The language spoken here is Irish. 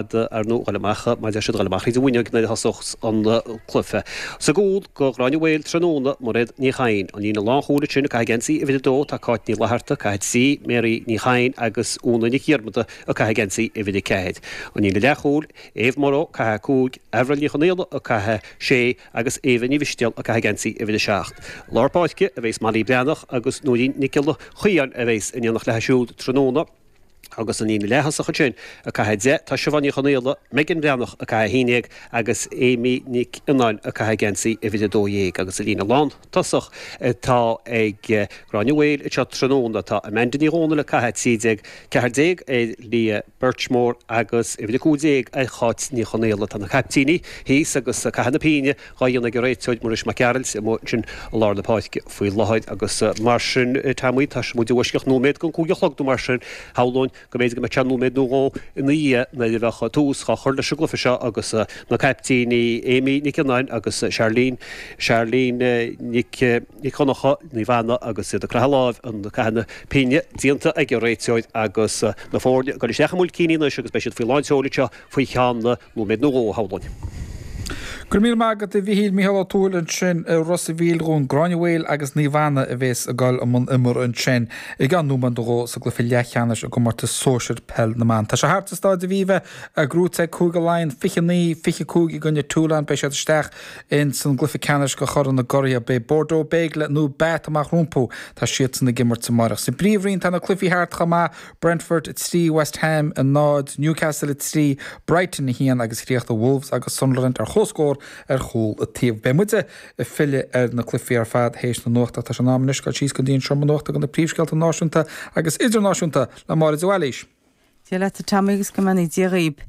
Ar ndóigh, dhul amach, mar a deir siad, dhul amach thríd an bhfuinneog nuair a thosós an cluiche. Sa gcúl do Ghráinne Mhaol tráthnóna, Mairéad Ní Chadhain. An líne lánchúil ansin ag caitheamh geansaí uimhir a dó tá Cáit Ní Fhlatharta, ag caitheamh 3, Mary Ní Chadhain agus Úna Nic Dhiarmada ag caitheamh geansaí uimhir a 4. An líne leathchúil, Eve Morrow ag caitheamh 5, Avril Ní Chonaola ag caitheamh 6 agus Éabha Ní Mhistéal ag caitheamh geansaí uimhir a 7. Lár páirce a bheas Molly Breathnach agus Nóirín Nic Giolla Chaoin a bheas in éineacht léi siúd tráthnóna. Agus an líne leath-thosach ansin, ag caitheamh 10, tá Siobhán Ní Chonaola, Megan Breathnach ag caitheamh 11 agus Amy Nic Fhionnáin ag caitheamh geansaí uimhir 12. Agus an líne lán-tosach atá ag Gráinne Mhaol anseo tráthnóna, tá Amanda Ní Dhomhnaill ag caitheamh 13, 14 ar Leah Birchmore agus uimhir 15 ar Cháit Ní Chonaola. Tá na caiptíní thíos agus caitheamh na pínne dhá dhéanamh ag an réiteoir Muiris Mac Gearailt amuigh ansin i lár na páirce faoi láthair agus mar sin Tommy tá muid i bhfoisceacht nóiméad don 5 a chlog nó mar sin shamhlóinn go mb'fhéidir go mbeadh sé nóiméad nó dhó ina dhiaidh nuair a bheadh tús dhá chur leis an gcluiche seo agus na caiptíní Amy Nic Fhionnáin agus Charlene Charlene Nic Nic Dhonncha Naomh Anna agus iad ag croitheadh láimh an caitheamh na pínne déanta ag an réiteoir agus na foirne ag dul isteach i mbuailcíní anois agus beidh siad faoi lán tseoil anseo faoi cheann nóiméad nó dhó, a shamhlóinn. Go raibh míle maith agat a Mhichíl, Mícheál Ó Tuathail ansin i Ros a' Mhíl dhúinn. Gráinne Mhaol agus Naomh Anna a bhéas ag dul i mbun imeartha ansin i gceann nóiméad nó dhó sa gcluiche leathcheannais i gcomórtas sóisir peil na mban. Tá sé thart sa Stáid Aviva, gnóthaithe ag Cúige Laighean 29, 25 i gcoinne Toulon. Beidh siad isteach ins an gcluiche ceannais do Chorn na gCuraithe. Beidh Bordeaux Bègles nó Bath amach rompu. Tá siadsan ag imirt amárach. Sa bPríomhroinn tá na cluichí thart chomh maith. Brentford 3, West Ham 0, Newcastle 3, Brighton 1 agus chríochnaigh Wolves agus Sunderland ar comhscór ar chúl an taobh. Beidh muide ag filleadh ar na cluichí ar fad théis na nuachta. Tá sé in am anois dul síos go dtí an seomra nuachta do na príomhscéalta náisiúnta agus idirnáisiúnta le Máire de Bhailís. Dia leat a Tommy agus go mbeannaí Dia dhaoib.